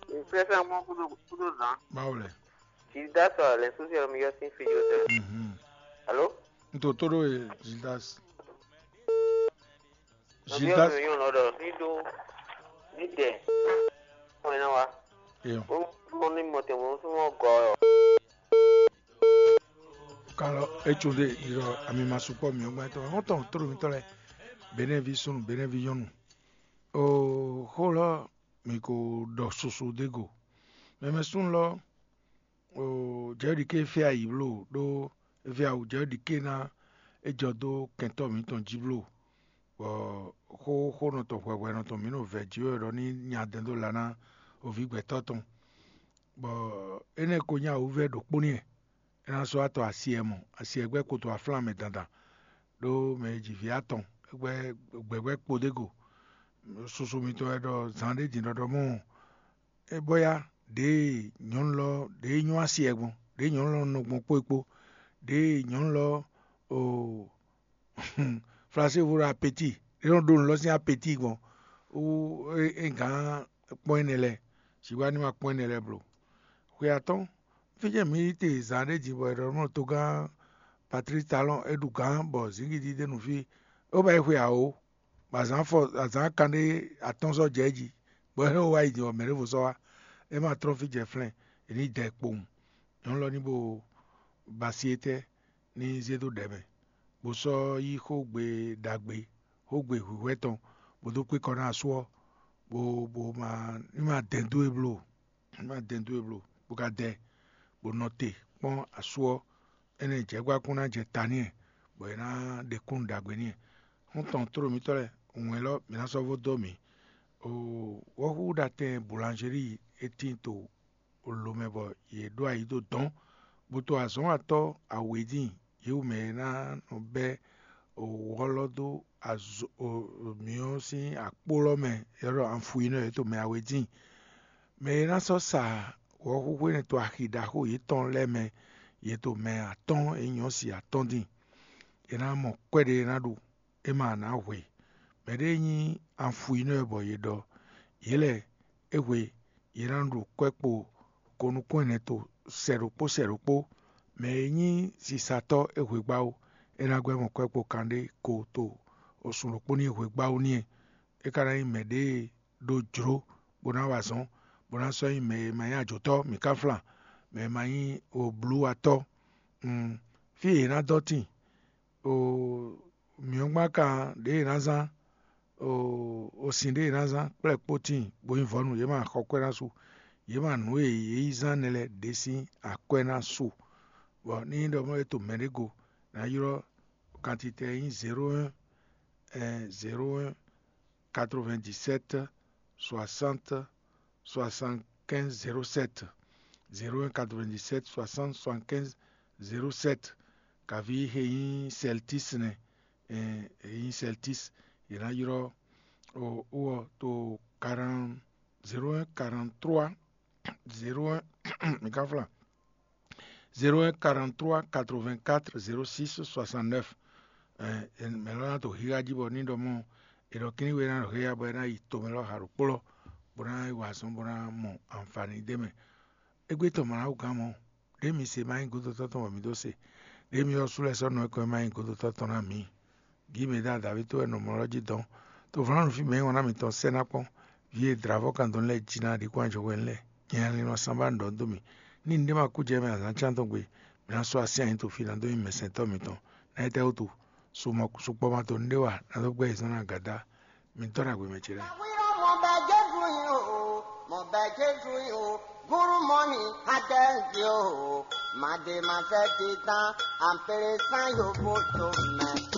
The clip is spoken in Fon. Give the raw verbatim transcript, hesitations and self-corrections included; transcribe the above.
N fɛ́ fɛ́ kpɔ́n kúdó kúdó zǎn. Báwo lɛ? Jǐ dá sɔ lɛ̌ sósì ɔ́ mi yɔ sín fí yó tɛ. Mhm. Alo? N to tó ɖó e Gildas. Nɔví ɔ́ Gildas. Mi yɔn lɔ ɖɔ ní ɖó ní dɛ. Kɔn ná wa. Eyɔn. Ó ní mɔ tɛn mɔ súnmọ́ gɔ ɔ. Kalɔ etso ɖe yirɔ ami ma sukpɔ mi ɔgbɛn tɔ hɔn tɔn tro mi tɔ lɛ. Benɛvi sunu benɛvi yɔnu. O xó lɔ mi ko ɖɔ susu ɖe go. Mɛmɛ sunu lɔ o jɛɖi ke fia yi blo ɖo fia o jɛɖi ke na e jɔ do kɛntɔ mi tɔn ji blo. Bɔ xó xó nɔ tɔn hwɛhwɛ nɔ tɔn mi nɔ vɛ ji wɛ ɖɔ ní nya dɛn dó la ná ovi gbɛtɔ tɔn. Bɔ énɛ́ ko nyí awǔvɛ́ ɖokpó n'i wɛ. É ná sɔ́ wá tɔ asi e mɔ, asi e gbɛ́ koto aflán mɛ dandan, ɖó mɛ e ji vǐ atɔn, é gbɛ́ gbɛ̌gbɛ́ kpo ɖé go. Susu mitɔn wɛ ɖɔ zǎn ɖé din ɖɔɖɔ mɔ é bɔ ya ɖěe nyɔ̌nu lɔ ɖěe nyɔ́ asi e gbɔn, ɖěe nyɔ̌nu lɔ nɔ gbɔn kpó e kpó, ɖěe nyɔ̌nu lɔ o Flasévo ɖo apeti, é nɔ ɖó nǔ lɔ sín apeti gbɔn. Wú é gǎn kpɔ́n énɛ́ lɛ́ɛ, sǐ wá ní ma kpɔ́n énɛ́ lɛ́ɛ blo. Xwe atɔ́ɔ́n, fí jɛ́n mǐ yi te zǎn ɖé din bɔ è ɖɔ nú togán Patlísi Talɔ́ɔn é ɖu gǎn bɔ zǐngídi ɖ'é nu fí, é wú ba yi xwe awǒ, bɔ azǎn afɔ azǎn kanɖé atɔ́ɔ́n sɔ́ jɛ é jí, bɔ é wá yi din bɔ mɛ̌ ɖěvo sɔ́ wá, é ma tlɔ́n fí jɛ flɛ́n, è nǐ dɛ kpowun. Nyɔ̌nu lɔ ní bo ba asi étɛ́ ní zé dó ɖɛ̌ mɛ, bó sɔ́ yí xógbe ɖagbe, xógbe hwǐhwɛ́ tɔn, bó dó kpé kɔ ná asú ɔ́, bó bó ma ní ma dɛn dó e bló, ní ma dɛn dó e bló, bó ka dɛ, bó nɔ te kpɔ́n asú ɔ́, énɛ́ jɛ̌gbá kún ná jɛ ta n'i, bɔ è nǎ ɖe kúnnu ɖagbe n'i. Xɔ́ntɔn tlólǒmítɔ́ lɛ́ɛ, wɛn élɔ́ mǐ ná sɔ́ vo dó mǐ. Wɔ̌xúxúɖatɛn Boulangerie e tíin to lo mɛ bɔ yě ɖó ayi dó dɔ̌n, bó to azɔ̌watɔ́ awědin yě wú mɛ e ná nɔ bɛ́ wɔ̌lɔ́ dó azɔ̌ mǐ ɔ́ sín akpó lɔ́ mɛ, é ɖɔ anfuinɔ yě to mɛ awědin. Mɛ e ná sɔ́ sa wɔ̌xúxú énɛ́ to axi ɖaxó yětɔn lɛ́ɛ mɛ, yě to mɛ atɔ́ɔ́n e nyɔ́ si atɔ́ɔ́n din. È nǎ mɔ kwɛ́ ɖé e ná ɖu, é ma ná hwe. Mɛɖée nyí anfuinɔ bɔ yě ɖɔ, yě lɛ́ɛ é hwe, yě ná ɖu kwɛ́ kpo ko nukún ɛnɛ to sɛ ɖokpó sɛ ɖokpó. Mɛ e nyí sisatɔ́ é hwe gbáwú, é ná gbɛ́ mɔ kwɛ́ kpo kanɖé ko to osun ɖokpó ní hwe gbáwú n'i. É ka ná nyí mɛɖée ɖó jlǒ bó ná wa azɔ̌n, bó ná sɔ́ nyí mɛ e ma nyí ajotɔ́, mǐ ka flan, mɛ e ma nyí oblúwatɔ́. Mm, fí e yě ná dɔ́ tíin, o mǐ ɔ́ gbán kan ɖěe è nǎ zán, o sin ɖěe è nǎ zán kplɛ́ kpó tíin, bó nyí vɔ̌nu, yě ma xɔ kwɛ́ ná su, yě ma nǔ e yě yi zán nɛ́ lɛ́ɛ ɖě sín akwɛ́ ná su. Bɔ ní nyí ɖɔ mɔ̌ é to mɛɖé go, ná ylɔ́ kantitɛ e nyí zéro un zéro un quatre-vingt-dix-sept soixante soixante-quinze zéro sept, zéro un quatre-vingt-dix-sept soixante soixante-quinze zéro sept. Kaví he nyí Celtis nɛ, he nyí Celtis, yě ná ylɔ́ o ɔ to quarante zéro un quarante-trois zéro un mi ka flan zéro un quarante-trois quatre-vingt-quatre zéro six soixante-neuf. Mɛ lɔ ná to xixa jí bɔ ní ɖɔ mɔ è ɖɔ kíní we ná ɖo xéya bɔ é ná yi tomɛ lɔ xa ɖokpó lɔ, bó ná yi wa azɔn bó ná mɔ anfani d'é mɛ. Égbé tɔn mlǎwúgán mɔ, ɖěe mi se ma nyí godotɔ́ tɔn wɛ mi dó se, ɖěe mi ɔ́ sú lɛ́ sɔ́ nɔ é kɔn e ma nyí godotɔ́ tɔn ná mǐ. Gǐ mǐ ɖo adǎví towe nɔ mɔ lɔ jí dɔn. To vlǎnu fí mɛ e wǎn ná mǐtɔn sɛ́ ná kpɔ́n, vǐ e dlǎvɔ́ kan dɔn lɛ́ɛ jí ná ɖi kɔn ajɔhwɛ́nu lɛ́ɛ. Nyɛ Linɔ Sanbá ɖɔ dó mì, ní nǔɖé ma kú jɛ mɛ azǎn cán tɔn gbe, mǐ ná sɔ́ así anyǐ to fí ná dó nyí mɛsɛntɔ́ mǐtɔn. Ná étɛ́ wútu? Sukpɔ́ ma to nǔɖé wa ná dó gbɛ́ yězɔ́n ná gǎdá. Mi dɔ́ ɖagbe mɛ ce lɛ́ɛ. Mɔ bɛ Jezu yin o, mɔ bɛ Jezu yin o, gúrú mɔ ni adɛnzi o, màdè màsɛ titan, àpèrè sán yòókù tó mɛ.